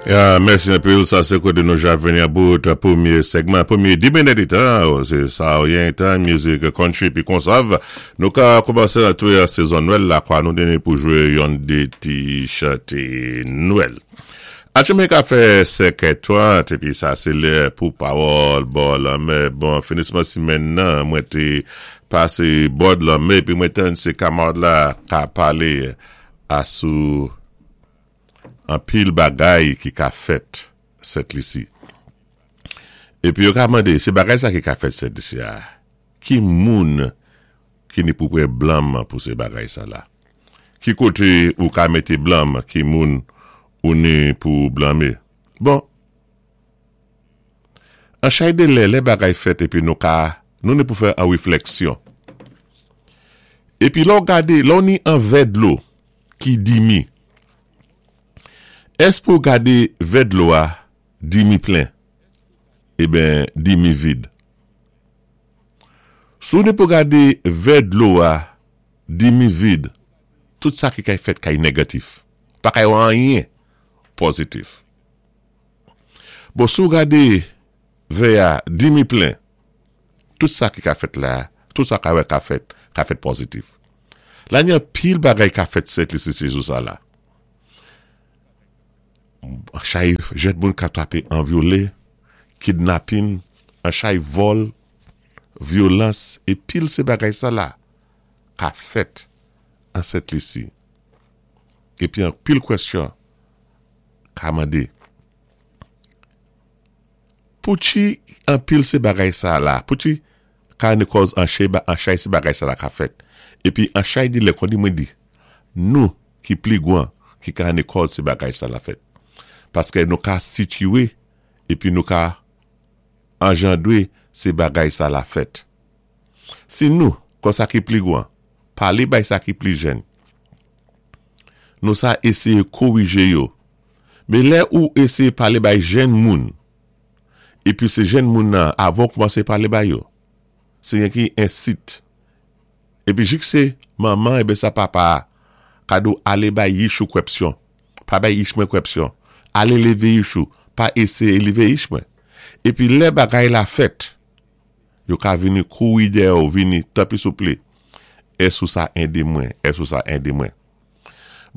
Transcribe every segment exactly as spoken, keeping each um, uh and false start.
Ya, mèsi anpil. Sa sé koté nou ja vini about pwémyé segman, pwémyé di minit tan, sé sa yon tan, mizik country pi konsav. Nou ka koumansé antwé an sézon Nwèl la kwa, nou déni pou jwé yon dé ti chanté Nwèl. Achemen ka fè senkè trant, épi sa sé lè pou pawòl bò lanmè. Bon, finisman simenn nan, mwen té pasé bò lanmè, pi mwen tann sé kamarad la ka palé asou anpil bagay ki ka fèt Sent Lisi. Épi yo ka mandé, sé bagay sa ki ka fèt Sent Lisi a, ki moun ki ni pou pran blam pou sé bagay sa la? Ki koté ou ka mété blam, ki moun ou ni pou blanmé? Bon, an chay dé lè, lè bagay fèt épi nou ka, nou ni pou fè an wéflèksyon. Épi lò gadé, lò ni an vè dlo ki dimi. Ès pou gadé vè dlo a dimi plen? Eben, dimi vid. Si ou ni pou gadé vè dlo a dimi vid, tout sa ki kay fèt kay négatif. Pa kay anyen pozitif. Bon, si ou gadé vè a dimi plen, tout sa ki ka fèt la, tout sa ka wè ka fèt, ka fèt pozitif. La ni an pil bagay ka fèt Sent Lisi sé jou sa la. An chay jèn moun ka twapé an vyolé, kidnapping, an chay vòl, vyolans, é pil sé bagay sa la ka fèt an Sent Lisi. Épi an pil kwèsyon ka mandé. Pouki an pil sé bagay sa la, pouki ka ni kòz an chay ba, an chay sé bagay sa la ka fèt. Épi an chay di lè kon di mwen di, nou ki pli gwan ki ka ni kòz sé bagay sa la fèt. Paské nou ka sitiyé épi nou ka anjandwé sé bagay sa la fèt. Si nou, kon sa ki pli gwan, palé bay sa ki pli jèn, nou sa éséyé kowijé yo. Mé lè ou éséyé palé bay jèn moun, épi sé jèn moun nan avan koumansé palé bay yo, sé yon ki ensit. Épi jik sé manman ébé sa papa ka di ou alé bay yich ou kwèpsyon, pa bay yich mwen kwèpsyon, alé lévé yich ou, pa éséyé lévé yich mwen. Épi lè bagay la fèt, yo ka vini kouri dèyè ou vini, tanpri souplé, ès ou sa édé mwen, ès ou sa édé mwen.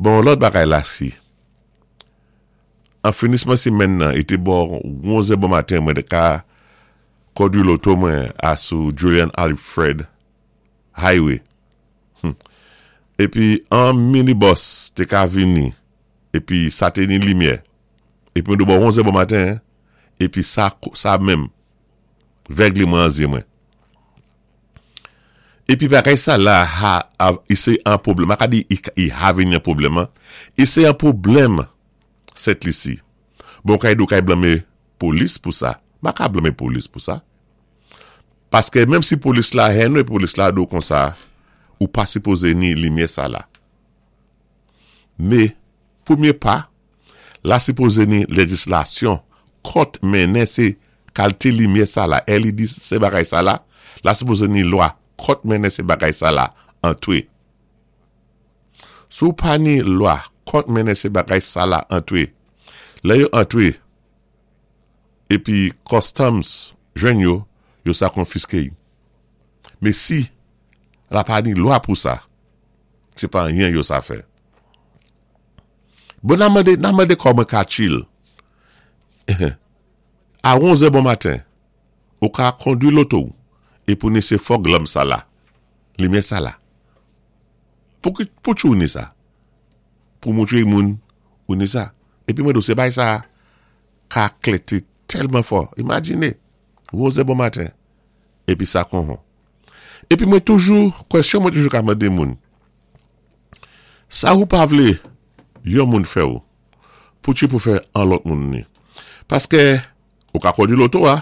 Bon, lòt bagay la si, an finisman simenn nan, i té bò onzè bon maten mwen té ka kondwi loto mwen asou Julian Alfred Highway. Hmm. Épi an minibus té ka vini, épi sa té ni limyè. Épi mwen di bò onzè bon maten, épi sa, sa menm, vèglé mwen an zyé mwen. Épi bagay sa la, ha, ha, i sé an pwoblèm. Ma ka di, i, i ha vini an pwoblèm, an. I sé an pwoblèm Sent Lisi. Bon, kay do kay blanmé polis pou sa. Ma ka blanmé polis pou sa. Paské menm si polis la hen nou, polis la do kon sa, ou pa sipozé ni limyè sa la. Mé, pwémyé pa, la sipozé ni léjislasyon kont mennen sé kalité limyè sa la, L E D sé bagay sa la, la sipozé ni lwa kont mennen sé bagay sa la antwé. Si ou pa ni lwa kont mennen sé bagay sa la antwé, lè yo antwé, épi customs jwenn yo, yo sa konfiské yo. Mé si la pa ni lwa pou sa, sé pa anyen yo sa fè. Bon, nan mandé, nan mandé kòman ka chill. A onzè bon maten, ou ka kondwi loto é pou ni sé fog lamp sa la, limyè sa la. Pou ki, pou ou ni sa? Pou moutwé moun ou ni sa. Épi mwen di sé bay sa ka klété tèlman fò. Imajiné, onzè bon maten, épi sa kon hon. Épi mwen toujou, kwèsyon mwen toujou ka mandé moun. Sa ou pa vlé yon moun fè ou, pou tu pou fè an lòt moun ni. Paské ou ka kondwi loto a,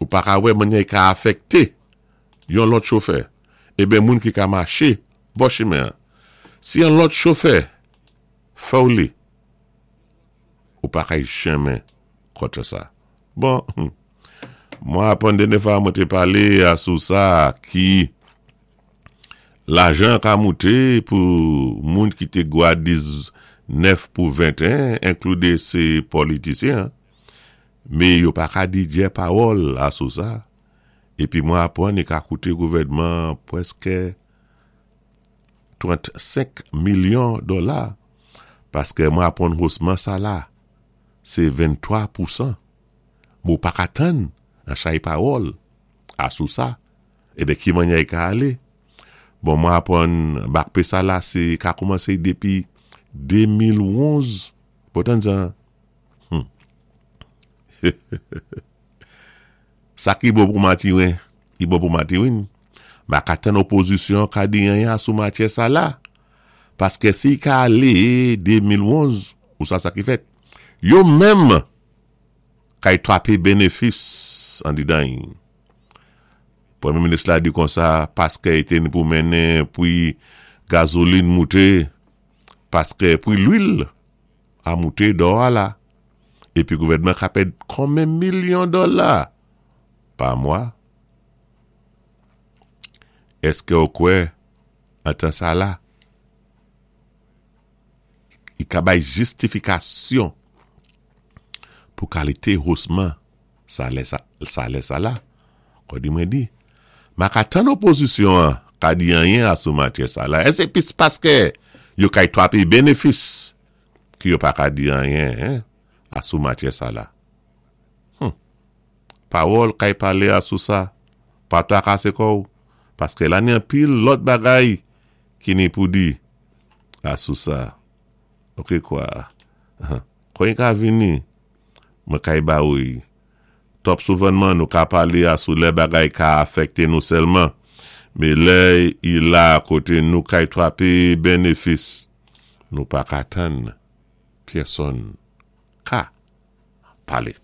ou pa ka wè mannyè ka afèkté yon lòt chofè. Eben moun ki ka maché bò chimen. Si yon lòt chofè fè ou li, ou pa ka janmen kontan sa. Bon, mwen aprann dènyé fwa mwen té palé asou sa ki lajan ka mouté pou moun ki té gwa diz, nèf pou venteyen, enkloudé sé politisyen, mé yo pa ka di djè pawòl asou sa. Épi mwen apwann i ka kouté gouvèdman pwèskè trannsenk milyon dola, paskè mwen apwann hosman sa la, sé venntwa pousan. Mé ou pa ka tann an chay pawòl asou sa, ében ki mannyè i ka alé? Bon, mwen apwann back pay sa la, sé ka koumansé dépi de mil onz. Pou tann sa? Hmm. Sa ki bon pou Matiwen, i bon pou Matiwin. Ma ka tann opozisyon ka di anyen asou matyè sa la. Paskè si ka alé de mil onz, ou sa sa ki fèt? Yo menm kay twapé bénéfis an didan. Pwémyé minis la di konsa, paskè i té ni pou mennen pwi gazolin mouté, paskè pwi lwil a mouté dò a la. Épi gouvèdman ka pèd konmen milyon dola pa mwa? Èskè ou kwè an tan sa la? I ka bay jistifikasyon pou kalité hosman salè sa, salè sa la. Kon di mwen di, ma ka tann opozisyon an ka di anyen asou matyè sa la. E sé pis paskè yo kay twapé bénéfis ki yo pa ka di anyen, hein, asou matyè sa la. Hmm. Pawòl kay palé asou sa, pa twakasé kò ou, paskè la ni anpil lòt bagay ki ni pou di asou sa. Ok kwa, kon yi ka vini, mwen kay ba ou yi. Twòp souvènman nou ka palé asou lè bagay ka afèkté nou sèlman. Mé lè i la koté nou kay twapé bénéfis, nou pa ka tann pyèsonn ka palé.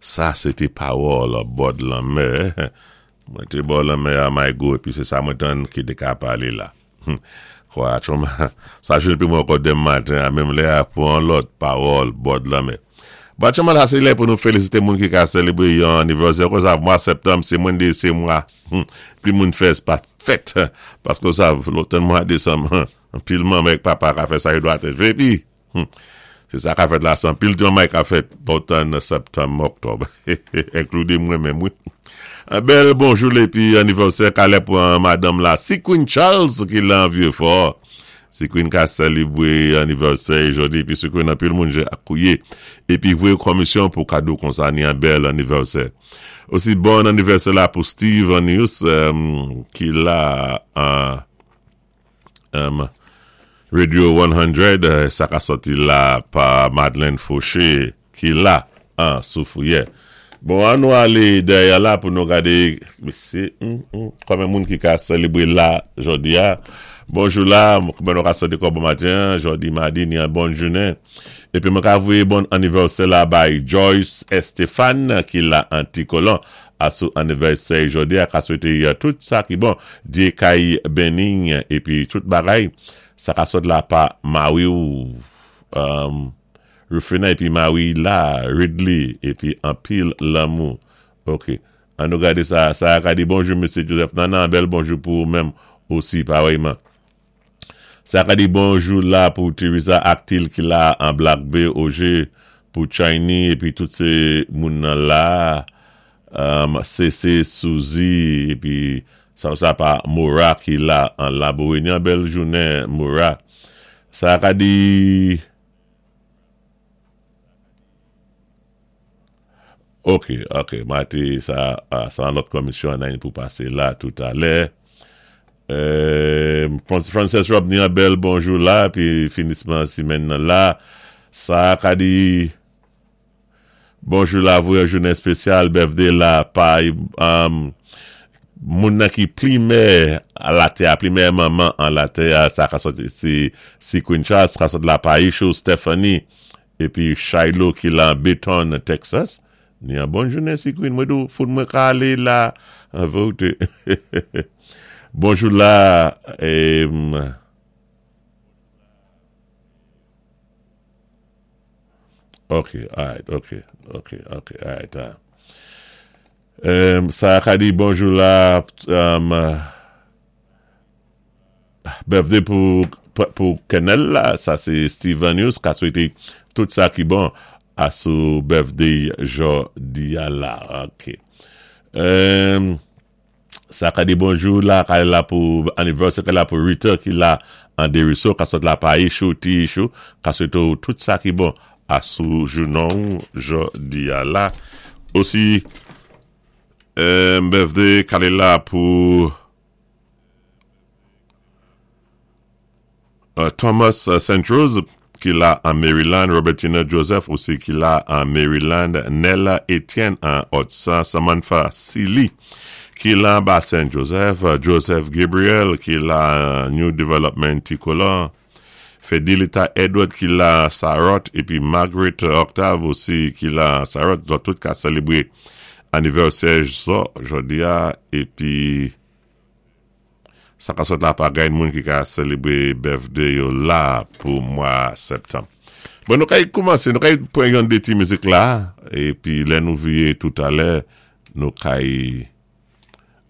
Sa, sé té pawòl bò lanmè. Mwen té bò lanmè a Maygo, épi sé sa mwen tann ki té ka palé la. Kwa, tchonman, sa jwenn épi mwen ankò denmen maten, a menm lè a pou an lòt pawòl bò lanmè. Bon, tchonman, la sé lè pou nou félisité moun ki ka sélébré yon anivèsè. Kon sa, mwa septanm, sé mwen de sé mwa. Pi moun fè pa fèt. Paskè sa, lòt mwa désanm, pil manman ak papa ka fè sa yo dwa té fè. Épi, sé sa ka fèt la san pil ti manman ka fèt lòt septanm, oktòb. Enkloudé mwen menm, wi. Un bel bonjou épi anivèsè kalè pou madanm la, Si Queen Charles ki la Vieux-Fort. Si Queen ka sélébré anivèsè jòdi, épi Si Queen anpil moun jé akouyé épi voyé komisyon pou kado konsa ni an bèl anivèsè. Osi bon anivèsè la pou Steve Anius um, ki la uh, um, Radio san, euh, sa ka sòti la pa Madeleine Fauché ki la an Soufrière. Bon, an nou alé dèyè la pou nou gadé sé mm, mm, konmen moun ki ka sélébré la jòdi a. Bonjou la, kouman nou ka santi kò bon maten, jòdi madi ni an bon jounen. Épi mwen ka voyé bon anivèsè la bay Joyce Estefan ki la an Ti Kolon. Asou anivèsè jòdi a ka swété tout sa ki bon, Dye kay béni épi tout bagay sa ka sot la pa mari ou um, Rufina épi mari la Ridley épi anpil lanmou. Ok. An nou gadé sa, sa ka di bonjou Mesye Joseph Nana, bèl bonjou pou ou menm osi parèyman. Sa ka di bonjou la pou Teresa Actil ki la an Black Bay, Oje pou Chini épi tout sé moun nan la um, C C Suzy épi sa sa pa Mora ki la an Laborie. Ni bèl jounen Mora. Sa ka di. Ok, ok, mati sa, sa an lòt komisyon an pou pasé la toutalè. Euh, Frances Rob ni an bèl bonjou la, pi finisman simenn nan la. Sa ka di bonjou la voye jounen espesyal birthday la pa um, moun nan ki pli mè a la tè, pli mè manman an la tè, sa ka sòti si, si Queen Charles, ka sòti la pa Isho Stephanie, épi Shiloh ki la Beton, Texas. Ni an bon jounen si Queen, mwen dou fout mwen ka alé la, an vote. Bonjou la, em, ok, alright, ok, ok, ok, alright. Uh. Um, sa ka di bonjou la, um, birthday pou pou Kenel la, sa sé Steven Hughes, ka swété tout sa ki bon asou birthday jòdi a la. Ok. Um, sa ka di bonjou la, ka la pou anniversary la pou Rita ki la an Deriso, ka sot la pa Ishou, ti Ishou, ka swété tout sa ki bon asou jounon jòdi a la. Osi, um, birthday ka la pou uh, Thomas uh, Saint Rose ki la an Maryland, Robertina Joseph osi ki la an Maryland, Nella Etienne an Otsa, Samantha Sili ki la ba Saint Joseph, Joseph Gabriel ki la an New Development Ticola, Fedelita Edward ki la Sarot, épi Margaret Octave osi ki la Sarot, zòt tout ka sélébwé anivèsè zò jòdi a, épi sa ka sot la pa gayn moun ki ka sélébwé birthday yo la pou mwa septanm. Bon, nou kay koumansé, nou kay pwan yon dé ti mizik la, épi lè nou viyé toutalè, nou kay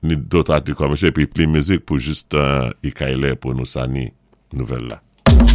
ni dòt ati kòmansé, épi pli mizik pou jis uh, i kay lè pou nou sani nouvèl la.